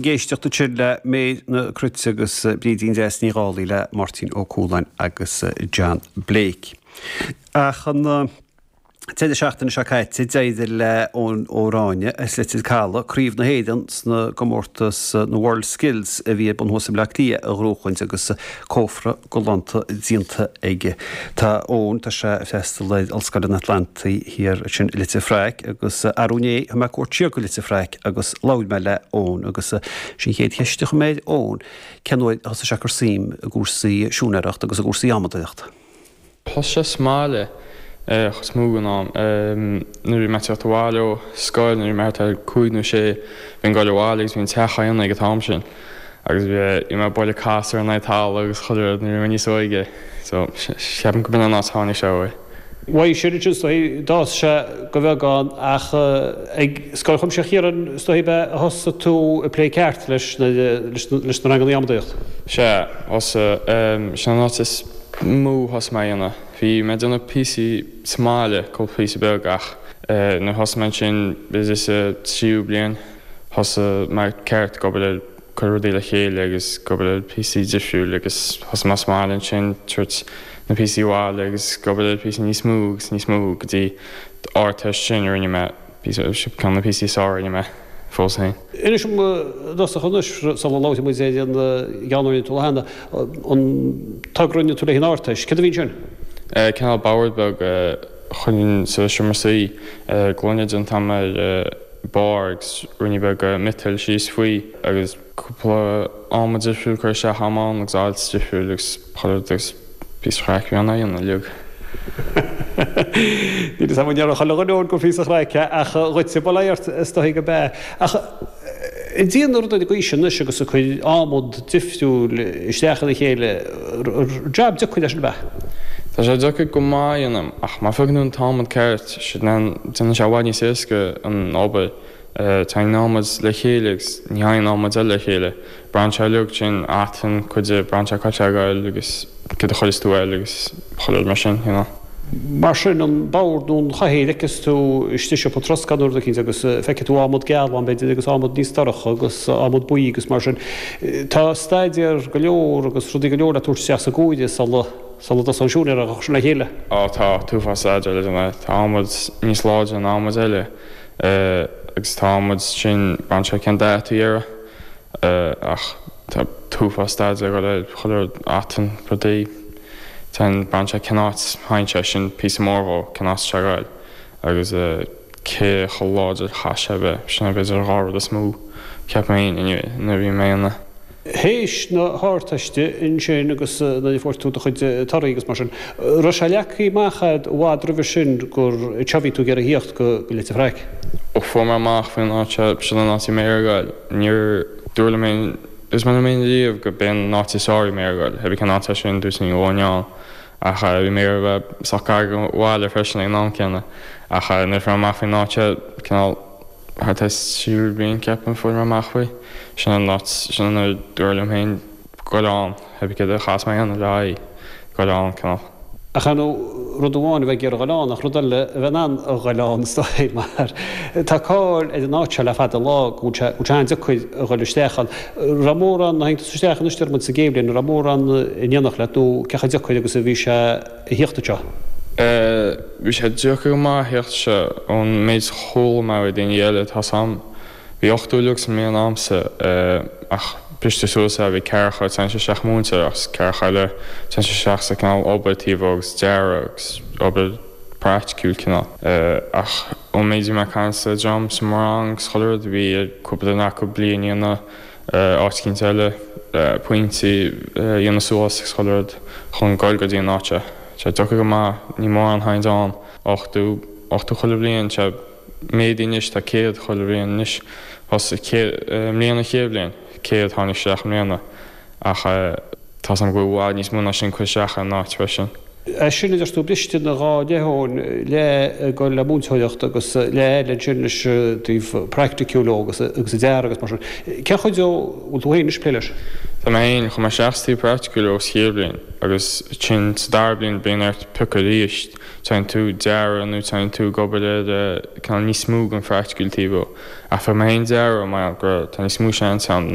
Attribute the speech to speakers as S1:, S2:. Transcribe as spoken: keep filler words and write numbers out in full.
S1: Ag éisteacht ansin le Méabh na Cruite agus Brídín Deas Ní Dhálaigh le Máirtín Ó Cualáin agus John Blake. Ach an deireadh seachtaine seo caite d'éirigh le Eoin Ó Ráinne as Leitir Caladh Craobh na hÉireann sna gcomórtas na World Skills a bhí ar bun thuas i mBleá Cliath a ghnóchaint agus cófra galánta déanta aige. Tá Eoin tá sé ag freastal ar Ollscoil an Atlantaigh thiar sin i Leitir Fraic agus arú inné thug mé cuairt siar go Leitir Fraic agus labhair mé le Eoin agus sin chéad cheist a chuir mé ar Eoin cén uair a thosaigh sé ag cur suim i gcúrsaí siúinéireachta agus i gcúrsaí adhmadóireachta.
S2: Thosaigh sé sa mbaile chos mó an am nuair bhí mé teacht abhaile ó scoil nuair bhí mé thart ar cúig nó sé bhí'n goil abhaile agus bhí an teach á dhéanamh ag an t-am sin agus bhí mé ag bualadh cas ar an talamh agus chuile rud nuair bhí mé níos óige so ceapaim go b'in an áit a tháinig sé uaidh.
S1: Bhuel sin sin is dóigh d'fhás sé go beagán ach ag Scoil Chuimsitheach Chiaráin is dóigh a thosaigh tú ag plé ceart leis leis na ranganna adhmadóireachta.
S2: Sea, thosaigh sin an áit is mó thosaigh mé a dhéanamh. Bhí mé ag déanamh píosaí sa mbaile, cúpla píosa beag ach nuair thosaigh mé ansin b'fhéidir sa tríú bliain thosaigh mé ceart ag obair ar cur rudaí le chéile agus ag obair ar píosaí difriúil agus thosaigh mé sa mbaile ansin tabhairt na píosaí abhaile agus ag obair ar píosaí níos mó agus níos mó go dtí Ardteist sin a rinne mé píosa ceann na píosaí is fearr a rinne mé fós féin.
S1: Inis dom i dtosach anois sula labhróidh muid ar an gceann a rinne tú cheana an togra a rinne tú le an Ardteist, céard a bhí ansin?
S2: Cineál bord beag chun sa seomra suí gloine déanta agam ar barr agus ruainne beag miotail síos faoi agus cúpla adhmad difriúil curtha isteach agam ann agus ailt difriúil agus chuile rud agus píosa craic a bhí ann á dhéanamh uilig.
S1: Níl a fhios agam an ndéarfadh chuile dhuine gur phíosa craic é ach dhuitse bail ó Dhia ort is dóigh go b'ea. Ach ag déanamh rud ar an gcaoi sin anois agus ag cur adhmad difriúil isteach ina chéile jab deacair é sin ab ea?
S2: Tá sé deacair go maith a dhéanamh ach má phiocann tú an t-adhmad ceart déanann sé i bhfad níos éasca an obair. Téann adhmad le chéile agus ní théann adhmad eile le chéile. Braitheann sé uilig sin atan cuid de braitheann sé cá ag goil agus céard a chuireas tú air agus chuile rud mar sin, you know.
S1: Mar sin an bord nó an chathaoir fheiceas tú istigh i siopa troscáin nó rud eicínt agus feicfidh tú adhmad geal ann b'fhéidir agus adhmad níos dorcha agus adhmad buí agus mar sin. Tá staidéar go leor agus rudaí go leor le tabhairt isteach sa gcomhaireamh sula sula dtosaíonn an siúinéir á chur sin le chéile.
S2: Á tá, t-uafás staidéir le déanamh. Tá adhmad níos láidre ná adhmad eile agus tá adhmad sin braitheann sé cén dath atá air ach tá t-uafás staidéir ag dul ar chuile rud atan rudaí téann braitheann sé cén áit théann sé sin píosa mór dhó cén áit atá sé ag goil agus cé chomh láidir a chaithfidh sé a bheith sin b'fhéidir an dhá rud is mó ceapaim féin anyway nuair a bhí mé ina
S1: Théis na hArdteiste ansin agus nuair a fuair tú do chuid torthaí agus mar sin, raibh sé leagtha amach a'd i bhfad roimhe sin gur anseo a bhí tú ag iarraidh a thíocht go Leitir Fraic?
S2: Ó fuair mé amach faoin áit seo, sin an áit a bhí mé ag iarraidh a ghoil. Níor dúradh liom féin, dúirt mé liom féin riamh go b'é an áit is fearr a bhí mé ag iarraidh a ghoil, cibé cén áit é sin, dúirt mé go bhfuil ach bhí mé ag iarraidh a bheith sách gar go bhaile freisin ag an am céanna. Ach nuair a fuair mé amach faoin áit seo, cineál, Thart ar tríú bliain ceapaim fuair mé amach faoi. Sin an áit, sin an uair dúradh liom féin goil ann, cibé céard a chaithfeas mé a dhéanamh le aghaidh goil ann, cineál.
S1: Ach ar ndóigh, rud amháin a bheith ag iarraidh goil ann ach rud eile a bheith in ann a ghoil ann is dóigh mar tá cáil ar an áit seo le fada an lá go bhfuil sé, go bhfuil sé an-deacair a ghoil isteach ann. Raibh mórán, nuair a tháinig tusa isteach anois deir muid sa gcéad bhliain, an raibh mórán in éineacht leat nó cé chomh deacair agus a bhí sé a thíocht anseo?
S2: Bhí sé deacair go maith a theacht anseo ón méid a chuala mé ó daoine eile tá 's a'm. Bhí ochtó uilig sa mbliain a'msa ach briste suas é, bhí ceathracha ag téann isteach múinteoireacht agus ceathracha eile ag téann isteach sa cineál obair taobh agus dearadh agus obair praiticiúil cineál. Ach ón méid a bhí mé ag caint le dream sa mo rang agus chuile rud bhí ar cúpla duine acu bliain a dhéanamh áit eicínt eile, pointí a dhéanamh suas agus chuile rud chun goil go dtí an áit seo. Sé deacair go maith, ní mórán théann ann, ochtó, ochtó chuile bhliain, sé méadaithe anois, tá céad chuile bhliain anois, thosaigh céad, i mbliana an chéad bhliain, céad tháinig isteach i mbliana ach tá 's a'm go bhfuil i bhfad níos mó ná sin curtha isteach ar an áit freisin.
S1: É sin a deir tú briste ina dhá leith Eoin, leath ag dul le múinteoireacht agus leath eile ansin leis an taobh praiticiúil agus agus an dearadh agus mar sin. Cén chuid dó a bhfuil tú féin anois ag plé leis?
S2: Tá mé féin chuaigh mé isteach sa taobh praiticiúil ó sa chéad bhliain agus ansin sa dara bliain bíonn ort piocadh arís téann tú dearadh nó téann tú ag obair ar cineál níos mó den phraiticiúil taobh ach phioc mé féin dearadh mar go tá níos mó seans ann